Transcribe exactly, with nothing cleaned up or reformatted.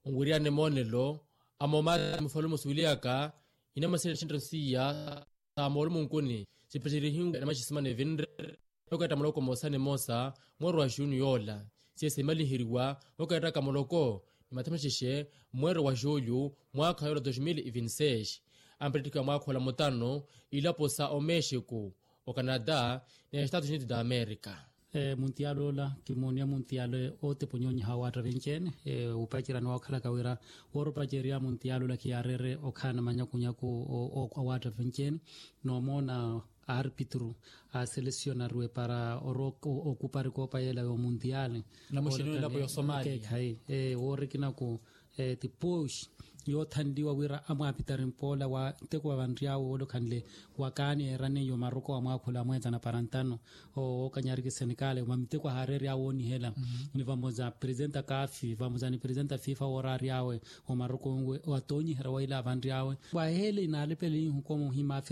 Nwiriyane moonelo amoomaati mufalume osuweliyaka inamaselela exinttano siiya sa moolumo nkuni sipacerihimwe na maxisimana evinre. Okaetta muloko moosa ni moosa mweero wa xuniyo ola siye simaliheriwa okaetta ka muloko ni mathamexexe mweero wa xulyu mwaakha yoola dos mil vinti seis. Ampettikha mwaakha ola mutano ilapo sa omexico, ocanada ni estados unidos da america. Muntiyaali ola kimooniya muntiyaali otepa onyonyiha wa waatta vinci-ene upacerya ni wookhalaka wira woora opacerya muntiyaali ola khiyaareere okhaana manyakunyaku a waatta vinci-ene. Noomoona aarpitru aaselesionariwe para orowa okupari koopa yeela yomuntiyaali. Namuxini wilapo yosomalia keekhayi woorikinaku ti poxi yoothanliwa wira amwaapitari mpoola wa nteko vavanry'awe woolokhanle wakaani eeraniye omaroko wa mwaakhula amweetana para ntano. Ookanyariki senegal mwa miteko ahaareery'awe woonihela ni vamoza presidenta kafi vamoza ni presidenta fifa wooraary'awe omaroko nwe atoonyiherya waila avanry'awe. Waheele inaalepele ihuku omuhima afe